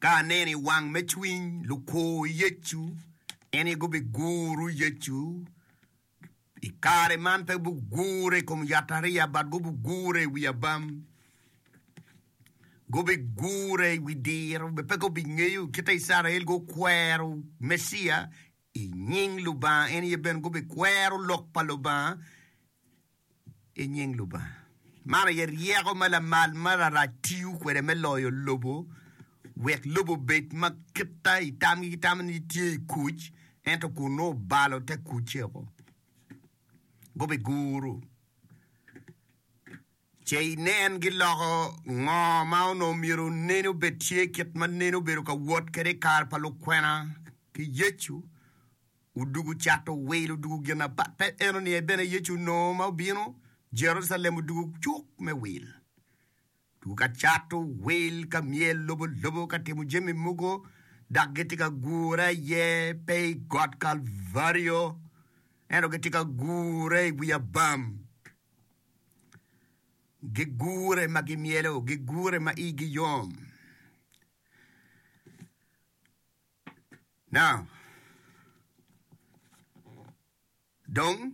Ka aneno i wang me cwiny lukur Yecu, en aye gubiguru Yecu. I kare man pe gubigure i kom yatariya, but gubigure i wi abam. Gubigure i wi diro, pe gubingeyo kit ma Icrael gukwero Meciya i nying Lubanga, en aye bene gubikwero lok pa Lubanga i nying Lubanga. Man aye ryeko ma lamal ma Larac tiyo kwede me loyo lobo wek lobo obed ma kita i tamgi gitamo ni tye i kuc ento kun nongo obalo te kucce woko. Gubiguru ce inen giloko ngo ma onongo myero nene obed tye kit ma nene obedo ka wot kwede i kare pa lukwena ki Yecu. Odugo cato wil, odugo gin apat. Pe eno-ni aye bene Yecu onongo ma obino Jerucalem odugo cuk me wil. Odugo ka cato wil, ka myel lobo lobo, ka timo jami mogo, dok gitye ka gure aye pe i got Kalvario, ento gitye ka gure i wi abam. Gigure ma gimyelo, gigure ma igi yom. Now, dong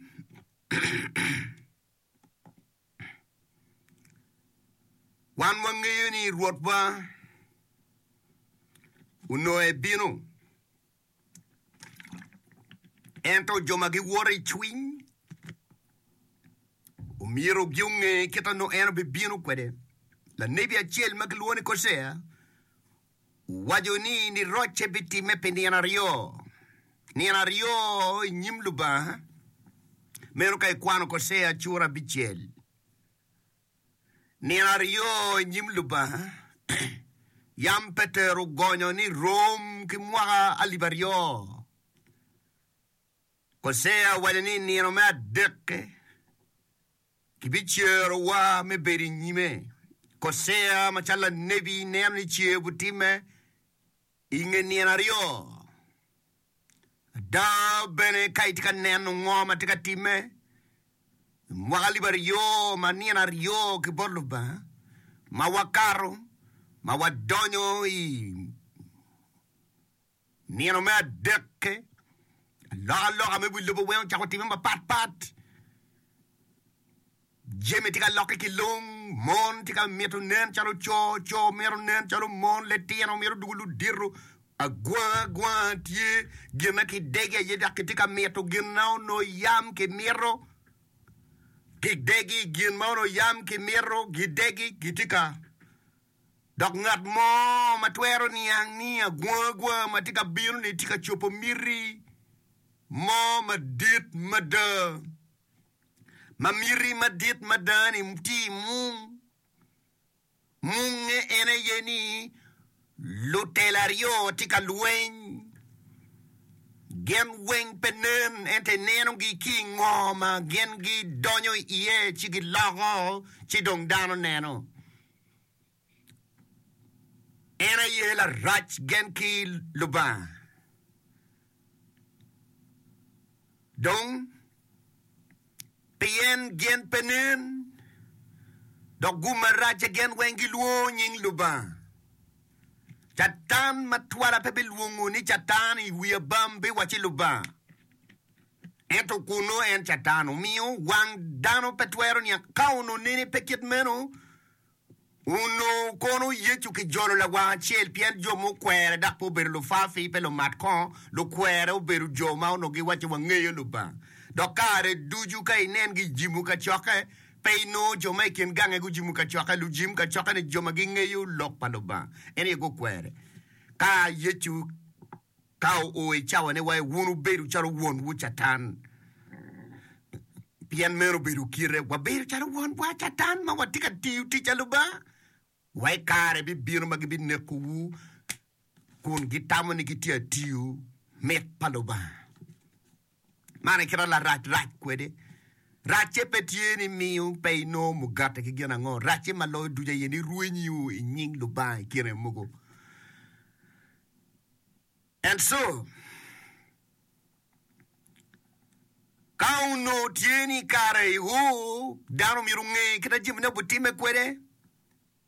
wan wangeyo ni Rwotwa onongo ebino, ento jo ma giwoto i cwiny omyero gunge kit ma nongo en obibino kwede. Lanebi acel ma kilwongo ni Kocea Owaco ni nirocce bitimme pi nino aryo, nino aryo i nyim Lubanga, meno ka ikwano Kocea cura abicel. Nino aryo i nyim Lubanga, yam Petero ogonyo ni rom ki mwaka 2000. Kocea owaco ni nino me adekke, Kibicerowa me bedo i nyime. Kocea macalo lanebi neno ni cer butimme i nge nino aryo. Ada bene ka itye ka neno ngo ma tye ka timme i mwaka alip aryo ma nino aryo ki bot Lubanga ma wakato ma wadonyo i Nino me adekke, alokaloka me wi lobo weng ocako timme mapat pat. Jami tye ka lokke ki lung, mon tye ka mito nen calo co, co mito nen calo mon, litino mito dwogo ludito, agwanga agwanga tye, gin ma kidegi aye dok kitye ka mito gin ma onongo yam kimito, kidegi gin ma onongo yam kimito, gidegi gitye ka. Dok ngat mo ma twero niang ni agwagwa ma tye ka bino-ni tye ka cobo miti mo madit mada, ma miti madit mada-ni tye i mung. Munge en aye ni lutela aryo tye ka lweny, gin weng pe nen ento inenogi ki i ngo ma gin gidonyo iye ci giloko ci dong dano neno. En aye larac gen ki Lubanga. Dong, pien gin pe nen, dok gum maracce gin weng gilwongo nying Lubanga. Catan matwala pe bilwongo ni Catan i wi abam biwacci Lubanga. Ento kunnu en Catan omiyo wang dano pe twero niang. Ka onongo nene pe kit meno, onongo kono Yecu kijolo lawang acel pien jo mukwere dok pe obedo lufafi, pe lumat kongo. Lukwere obedo jo ma onongo giwacci wangeyo Lubanga. Dok kare ducu ka inen gijimo kacokke, pe inongo jo ma i kin gange gujimo kacokke. Lujim kacokke-ni jo ma gingeyo lok pa Lubanga, en aye gukwere. Ka Yecu Ka oo i cawane wa, wun wubedo calo wonwu Catan, pien meno obedo kite. Wabedo calo wonwa Catan ma watye ka tiyo tic a Lubanga. Wa i kare bibino ma gibinekowu kun gitamo ni gitye ka tiyo mit pa Lubanga. Man aye kit ma larac rac kwede. Racce pe tye ni miyo pe inongo mugati ki gin ango. Racce ma loyo ducu aye ni rwenyi i nying Lubanga i kine mogo. And so, ka onongo tye ni kare i oo, dano myero onge kit ma jamine obitimme kwede.